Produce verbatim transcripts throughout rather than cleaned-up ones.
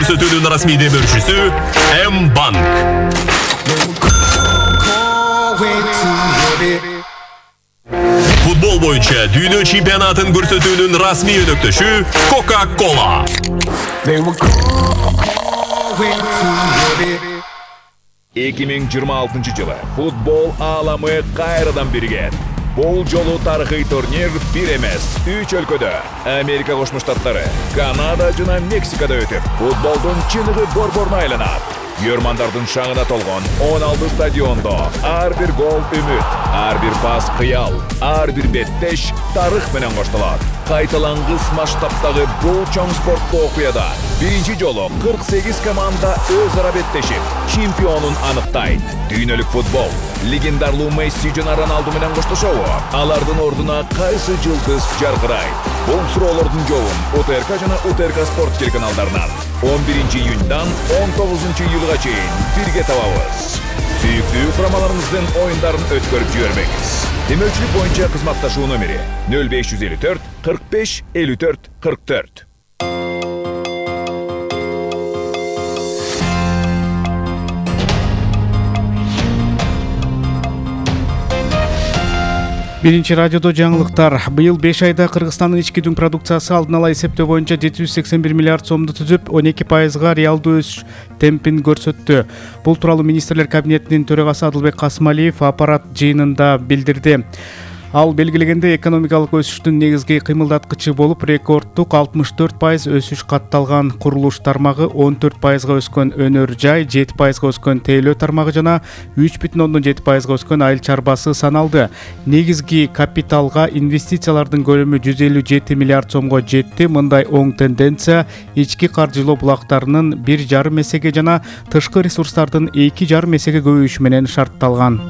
көрсөтүүнүн расмий демөөрчүсү М-банк. Футбол боюнча дүйнө чемпионатын көрсөтүүнүн расмий өнөктөшү Coca-Cola. эки миң жыйырма алтынчы жылы футбол ааламы кайрадан бирген. Бул жолу тарыхый турнир бир эмес, үч өлкөдө Америка Кошмо Штаттары, Канада жана Мексикада өтүп, футболдун чыныгы борборуна айланат. Көрмандардын шаңына толгон он алты стадиондо ар бир гол үмүт, ар бир пас кыял, ар бир беттеш тарых менен коштолот. Кайталангыс масштабтагы бул чоң спорттуу окуяда биринчи жолу кырк сегиз команда өз ара беттешип, чемпионун аныктайт. Дүйнөлүк футбол легендарлуу Месси жана Роналду менен коштошобу? Алардын ордуна кайсы жылдыз жаркырайт? Бул суроолордун жообун УТРК жана УТРК спорт телеканалдарынан он биринчи июньдан он тогузунчу июлга чейин бирге табабыз. Сүйүктүү курамаларыңыздын оюндарын өткөрүп жибербеңиз. Демөөрчүлүк боюнча кызматташуу номери нөл беш жүз элүү төрт кырк беш элүү төрт кырк төрт. Биринчи радиодо жаңылыктар. Быйыл беш айда Кыргызстандын ички дүң продукциясы алдын ала эсептөө боюнча жети жүз сексен бир миллиард сомду түзүп, он эки пайызга реалдуу өсүш темпин көрсөттү. Бул тууралуу министрлер кабинетинин төрагасы Адылбек Касымалиев аппарат жыйынында билдирди. Ал белгилегенде экономикалык өсүштүн негизги кыймылдаткычы болуп рекорддук алтымыш төрт пайыз өсүш катталган. Курулуш тармагы он төрт пайызга өскөн өнөр жай, жети пайызга өскөн тейлөө тармагы жана үч бүтүн ондон жети пайызга өскөн айыл чарбасы саналды. Негизги капиталга инвестициялардын көлөмү жүз элүү жети миллиард сомго жетти. Мындай оң тенденция ички каржылоо булактарынын бир жарым эсеге жана тышкы ресурстардын эки жарым эсеге көбөйүшү менен шартталган.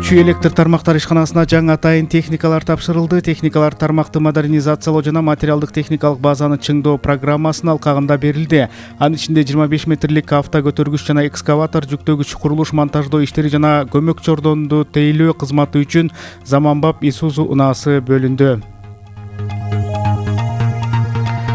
Чүй электр тармактар ишканасына жаңы атайын техникалар тапшырылды. Техникалар тармакты модернизациялоо жана материалдык техникалык базаны чыңдоо программасынын алкагында берилди. Анын ичинде жыйырма беш метрлик автокөтөргүч жана экскаватор, жүктөгүч, курулуш монтаждоо иштери жана көмөк чордонду тейлөө кызматы үчүн заманбап Isuzu унаасы бөлүндү.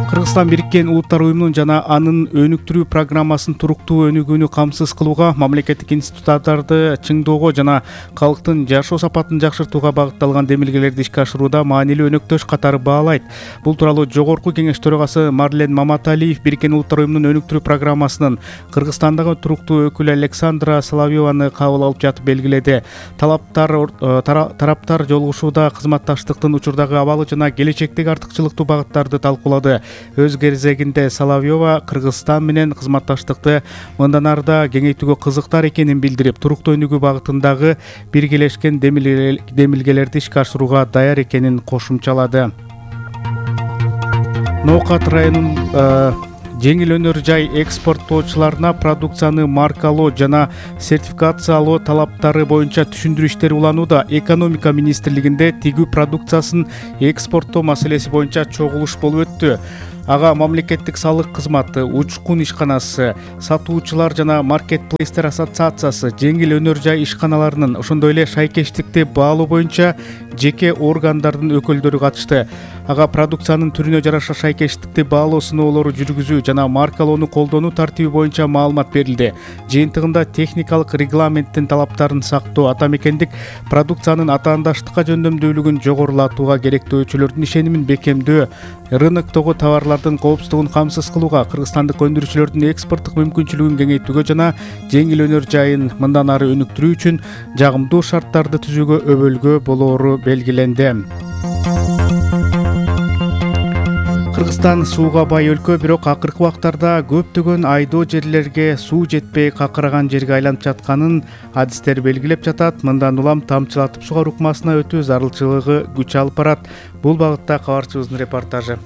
Кыргызстан Бириккен Улуттар уюмунун жана анын өнүктүрүү программасын туруктуу өнүгүүнү камсыз кылууга, мамлекеттик институттарды чыңдоого жана калктын жашоо сапатын жакшыртууга багытталган демилгелерди ишке ашырууда маанилүү өнөктөш катары баалайт. Бул тууралуу Жогорку Кеңеш төрагасы Марлен Маматалиев Бириккен Улуттар уюмунун өнүктүрүү программасынын Кыргызстандагы туруктуу өкүлү Александра Соловьеваны кабыл алып жатып белгиледи. Талаптар тараптар жолугушууда кызматташтыктын учурдагы абалы жана келечектеги артыкчылыктуу багыттарды талкуулады. Өз кезегинде Соловьева Кыргызстан менен кызматташтыкты мындан арда кеңейтүүгө кызыктар экенин билдирип, туруктуу өнүгүү багытындагы биргелешкен демилгелерди ишке ашырууга даяр экенин кошумчалады. Ноокат районунун жеңил өнөр жай экспорттоочуларына продукцияны маркалоо жана сертификациялоо талаптары боюнча түшүндүрүү иштери уланууда. Экономика министрлигинде тигүү продукциясын экспорттоо маселеси боюнча чогулуш болуп өттү. Ага мамлекеттик салык кызматы, учкун ишканасы, сатуучулар жана маркетплейстер ассоциациясы, жеңил өнөр жай ишканаларынын, ошондой эле шайкештикти баалоо боюнча жеке органдардын өкүлдөрү катышты. Ага продукциянын түрүнө жараша шайкештикти баалоо сыноолору жүргүзүү жана маркалоону колдонуу тартиби боюнча маалымат берилди. Жыйынтыгында техникалык регламенттин талаптарын сактоо, атамекендик продукциянын атаандаштыкка жөндөмдүүлүгүн жогорулатууга керектүү өчөлөрдүн ишенимин бекемдөө, рыноктогу товарлардын коопсуздугун камсыз кылууга, кыргызстандык өндүрүүчүлөрдүн экспорттук мүмкүнчүлүгүн кеңейтүүгө жана жеңил өнөр жайын мындан ары өнүктүрүү үчүн жагымдуу шарттарды түзүүгө өбөлгө болоору белгиленди. Кыргызстан сууга бай өлкө, бирок акыркы убактарда көптөгөн айдоо жерлерге суу жетпей какыраган жерге айланып жатканын адистер белгилеп жатат. Мындан улам тамчылатып сугаруу ыкмасына өтүү зарылчылыгы күч алып барат. Бул багытта кабарчыбыздын репортажы.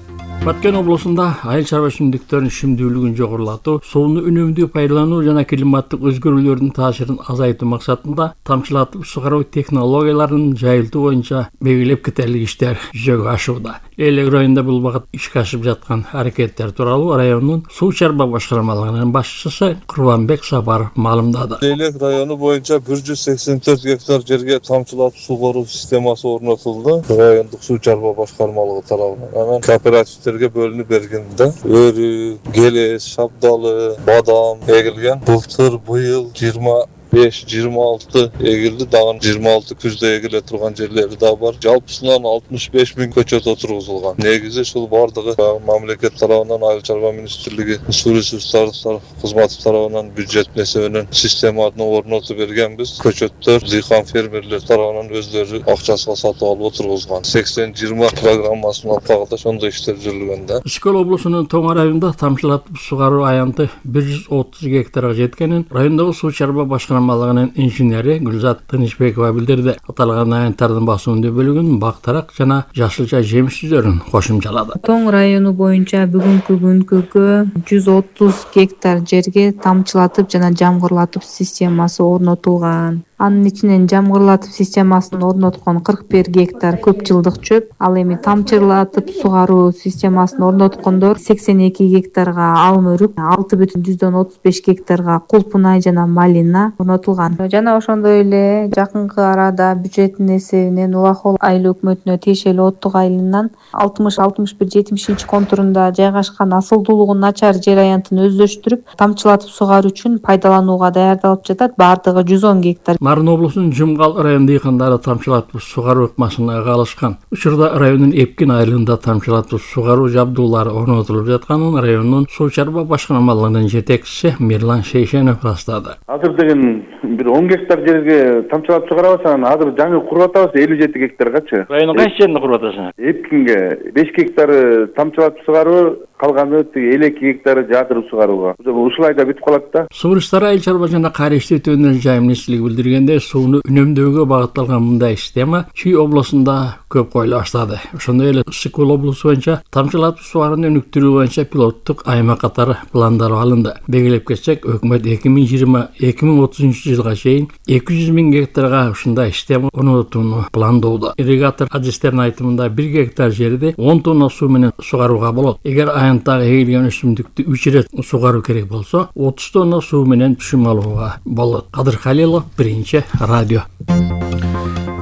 Баткен облусунда айыл чарба өсүмдүктөрүнүн шимдүүлүгүн жогорулатуу, сууну үнөмдүү пайдалануу жана климаттык өзгөрүүлөрдүн таасирин азайтуу максатында тамчылатып сугаруу технологияларынын жайылтуу боюнча белгилеп кетерлик иштер жүзөгө ашууда. Элек районунда бул багыт ишке ашып жаткан аракеттер тууралуу райондун суу чарба башкармалыгынын башчысы Курбанбек Сапаров маалымдады. Элек району боюнча бир жүз сексен төрт гектар жерге тамчылатып сугаруу системасы орнотулду. Райондук суу чарба башкармалыгы тарабынан. Анан кооперативдер фермерге бөлүнүп берген да. Өрү, келес, шабдалы, бадам эгилген. Былтыр быйыл жыйырма беш жыйырма алты эгилди, дагы жыйырма алты күздө эгиле турган жерлери да бар. Жалпысынан алтымыш беш миң көчөт отургузулган. Негизи ушул бардыгы мамлекет тарабынан, Айыл чарба министрлиги, суу ресурстары кызматы тарабынан бюджет эсебинен системаны орнотуп бергенбиз. Көчөттөр дыйкан фермерлер тарабынан өздөрү акчасына сатып алып отургузган. сексен жыйырма программасынын алкагында ошондой иштер жүргөн да. Ишкөл облусунун Тоң районунда тамчылатып сугаруу аянты бир жүз отуз гектарга жеткенин райондогу суу чарба башкармалыгынын инженери Гүлзат Тынычбекова билдирди. Аталган аянттардын басымдуу бөлүгүн бактарак жана жашылча жемиш түзөрүн кошумчалады. Тоң району боюнча бүгүнкү күнгө жүз отуз гектар жерге тамчылатып жана жамгырлатып системасы орнотулган. Анын ичинен жамгырлатып системасын орноткон кырк бир гектар көп жылдык чөп, ал эми тамчылатып сугаруу системасын орноткондор сексен эки гектарга алым өрүк, алты бүтүн жүздөн отуз беш гектарга кулпунай жана малина орнотулган. Жана ошондой эле жакынкы арада бюджеттин эсебинен Улахол айыл өкмөтүнө тиешелүү Оттук айылынан алтымыш алтымыш бир жетимишинчи контурунда жайгашкан асылдуулугу начар жер аянтын өздөштүрүп, тамчылатып сугаруу үчүн пайдаланууга даярдалып жатат. Бардыгы жүз он гектар. Нарын облусунун Жумгал район дыйкандары тамчылатып сугаруу ыкмасына алышкан. Учурда райондун Эпкин айылында тамчылатып сугаруу жабдуулары орнотулуп жатканын райондун суу чарба башкармалыгынын жетекчиси Мирлан Шейшенов растады. Азыр деген бир он гектар жерге тамчылатып сугарабыз, анан азыр жаңы куруп атабыз элүү жети гектаргачы. Райондун кайсы жерине куруп атасың? Эпкинге беш гектары тамчылатып сугаруу, калганы элүү эки гектары жаатырып сугарууга. Ушул айда бүтүп калат да. Суу ресурстары айыл чарба жана кайра иштетүүнүн жайым министрлиги билдиргенде, сууну үнөмдөөгө багытталган мындай система Чүй облусунда көп коюла баштады. Ошондой эле Ысык-Көл облусу боюнча тамчылатып сугарууну өнүктүрүү боюнча пилоттук аймак катары пландар алынды. Белгилеп кетсек, өкмөт эки миң жыйырма эки миң отузунчу жылга чейин эки жүз миң гектарга ушундай система орнотууну пландоодо. Ирригатор адистердин айтымында бир гектар жерди он тонна суу менен сугарууга болот. Эгер аянттагы эгилген өсүмдүктү үч ирет сугаруу керек болсо, отуз тонна суу менен түшүм алууга болот. Кадыр Халилов, Биринчи радио.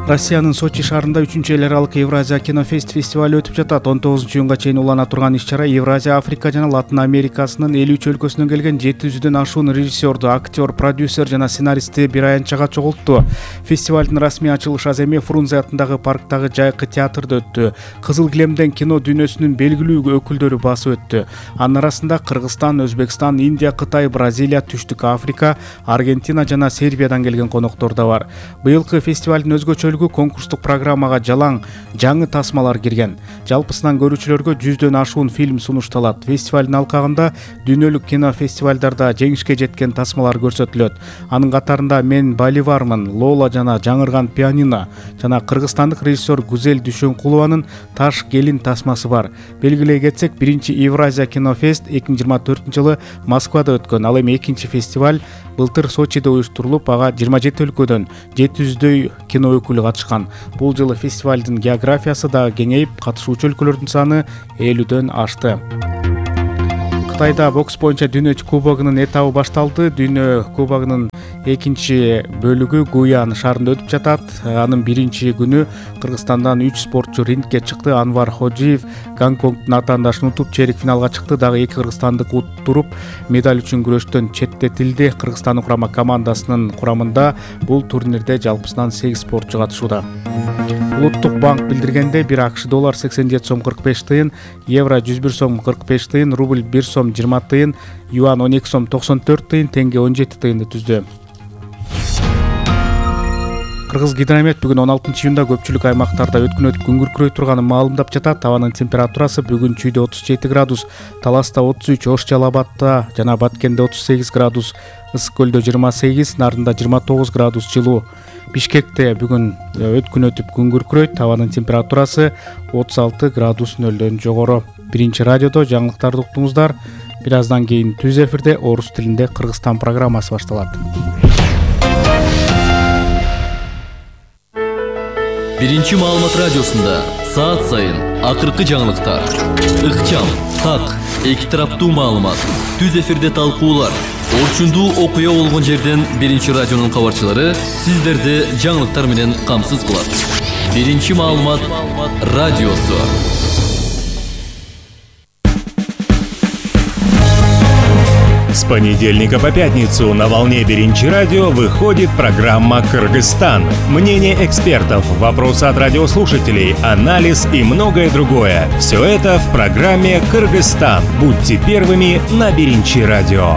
Россиянын Сочи шаарында үчүнчү эл аралык Евразия кинофест фестивалы өтүп жатат. он тогузунчу июнга чейин улана турган иш-чара Евразия, Африка жана Латын Америкасынын элүү үч өлкөсүнөн келген жети жүздөн ашуун режиссерду, актер, продюсер жана сценаристти бир аянтчага чогултту. Фестивалдын расмий ачылыш аземи Фрунзе атындагы парктагы Жайкы театрда өттү. Кызыл килемден кино дүйнөсүнүн белгилүү өкүлдөрү басып өттү. Анын арасында Кыргызстан, Өзбекстан, Индия, Кытай, Бразилия, Түштүк Африка, Аргентина жана Сербиядан келген коноктор да бар. Быйылкы фестивалдын өзгөчөлүгү конкурстук программага жалаң жаңы тасмалар кирген. Жалпысынан көрүүчүлөргө жүздөн ашуун фильм сунушталат. Фестивалдын алкагында дүйнөлүк кино фестивалдарда жеңишке жеткен тасмалар көрсөтүлөт. Анын катарында Мен Боливармын, Лола жана Жаңырган пианино жана кыргызстандык режиссер Гүзел Дүйшөнкулованын Таш келин тасмасы бар. Белгилей кетсек, биринчи Евразия кинофест эки миң жыйырма төртүнчү жылы Москвада өткөн. Ал эми экинчи фестиваль былтыр Сочиде уюштурулуп, ага жыйырма жети өлкөдөн жети жүздөй кино өкүлү катышкан. Бул жылы фестивалдын географиясы да кеңейип, катышуучу өлкөлөрдүн саны элүүдөн ашты. Кытайда бокс боюнча Дүйнө кубогунун этабы башталды. Дүйнө кубогунун экинчи бөлүгү Гуян шаарында өтүп жатат. Анын биринчи күнү Кыргызстандан үч спортчу рингке чыкты. Анвар Ходжиев Гонконгдун атаандашын утуп чейрек финалга чыкты. Дагы эки кыргызстандык уттуруп, медаль үчүн күрөштөн четтетилди. Кыргызстандын курама командасынын курамында бул турнирде жалпысынан сегиз спортчу катышууда. Улуттук банк билдиргенде, бир АКШ доллар сексен жети сом кырк беш тыйын, евро жүз бир сом кырк беш тыйын, рубль бир сом жыйырма тыйын, юан он эки сом токсон төрт тыйын, тенге он жети тыйынды түздү. Кыргыз гидромет бүгүн он алтынчы июнда көпчүлүк аймактарда өткөн өтүп күн күркүрөй турганын маалымдап жатат. Табанын температурасы бүгүн Чүйдө отуз жети градус, Таласта отуз үч, Ош Жалал Абадта жана Баткенде отуз сегиз градус, Ысык-Көлдө жыйырма сегиз, Нарында жыйырма тогуз градус жылуу. Бишкекте бүгүн өткөн өтүп күн күркүрөйт. Табанын температурасы отуз алты градус нөлдөн жогору. Биринчи радиодо жаңылыктарды уктуңуздар. Бир аздан кийин түз эфирде орус тилинде Кыргызстан программасы башталат. Биринчи маалымат радиосунда саат сайын акыркы жаңылыктар, ыкчам, так, эки тараптуу маалымат, түз эфирде талкуулар, орчундуу окуя болгон жерден биринчи радионун кабарчылары сиздерди жаңылыктар менен камсыз кылат. Биринчи маалымат радиосу. понедельника по пятницу на волне Биринчи радио выходит программа «Кыргызстан». Мнение экспертов, вопросы от радиослушателей, анализ и многое другое. Все это в программе «Кыргызстан». Будьте первыми на Биринчи радио.